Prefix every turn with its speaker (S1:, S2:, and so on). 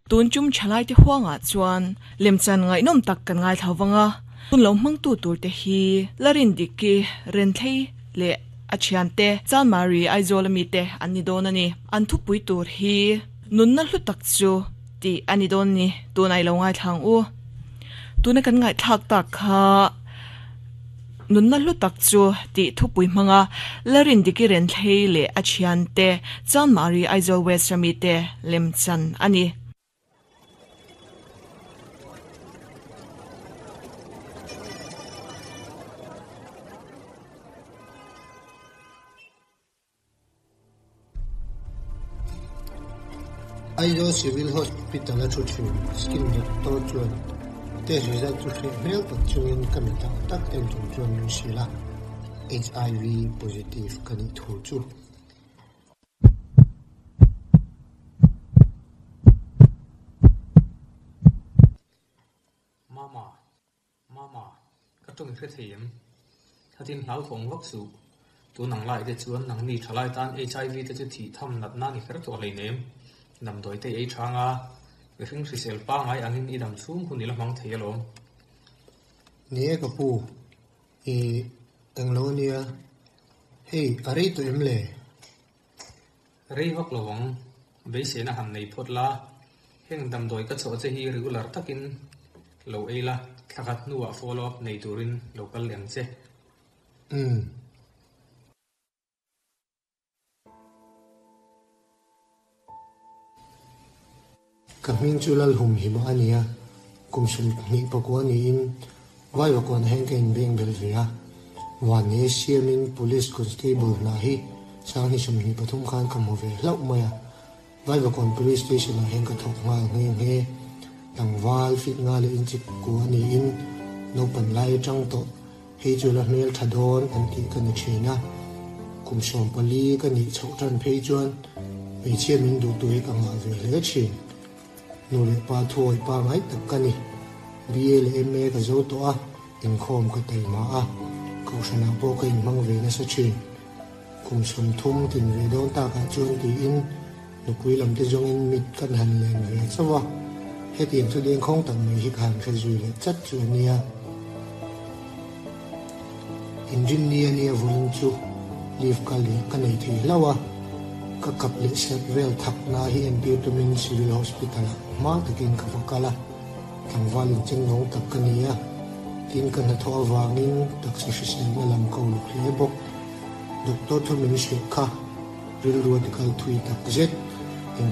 S1: Tun tum thalaite huangah chuan lemchan ngaihnawm tak kan ngaithla vang a, hun lo hmangtu turte hi Larindiki Renthlei leh a thiante Chanmari Aizawl amite an ni dawn a ni. An thupui tur hi Nunna hlu tak chu tih a ni dawn ni, tunah i lo ngaithla ang u. Tuna kan ngaihthlak tak kha Nunna hlu tak chu tih thupui hmanga Larindiki Renthlei leh a thiante Chanmari Aizawl West ramite lemchan a ni.
S2: Aizawl Civil Hospital a thu thin skin doctor chuan test result chu hreh hmel tak chungin ka mi tak tak en chung chuan min hrilh a, HIV positive ka nih thu chu.
S3: Mama, Mama, ka tawng i hre thei em? Khatin hlauthawng vak suh. Tun ang lai te chuan nangni thalai tan HIV te chu thih tham natna ni kher tawh hleinem. Damdawi te i ei thang a, mihring hrisel pangai angin i dam chhung hun i la hmang thei alawm.
S2: Ni e ka pu, i englo ania, hei a rei tawh em le?
S3: Rei vak lo ang, beiseina han nei phawt la, heng damdawi ka chawh che hi regular takin lo ei la, thla khat hnuah follow up nei turin lo kal leh ang che.
S2: Umm. Ka hming chu Lalhumhima a ni a, kum 20 pakua niin Vaivakuan hian ka inbeng belh ve a. Vanni siamin Police Constable hna hi 2023 khan ka hmu ve hlauh mai a. Vaivakuan Police Station ah hian ka thawk nghal nghe nghe. Tlangval fit nga leh inchik kua niin naupan lai atang tawh hei chu la hmel tha dawn an tih ka ni thin a. Kum 14 ka nih chhoh tan phei chuan hmeichhia min duhtu hi ka ngah ve hle thin. Nu leh pa thuawi pa ngai tak ka ni. BA leh MA ka zo tawh a, inkhawm ka taima a, kohhranah pawh ka inhmang ve nasa thin. Kum 30 tin ve dawn takah chuan tiin nupui lam te zawngin mit kan han len ve chauh a, hetiang chu dengkhawng tak mai hi ka han hre zui leh chat chu a nia. Inrinni a nia vawiin chu leave ka leh ka nei thei hlauh a, ka kap leh serh vel thak na hi entir tumin Civil Hospital ah hma takin ka va kal a, tlangval incheng nawng tak ka ni a, tin ka hnathawh avangin taksa hriselna lam ka uluk hle bawk. Doctor thu min hrilh kha rilru a tikal thui tak zet. Engtin.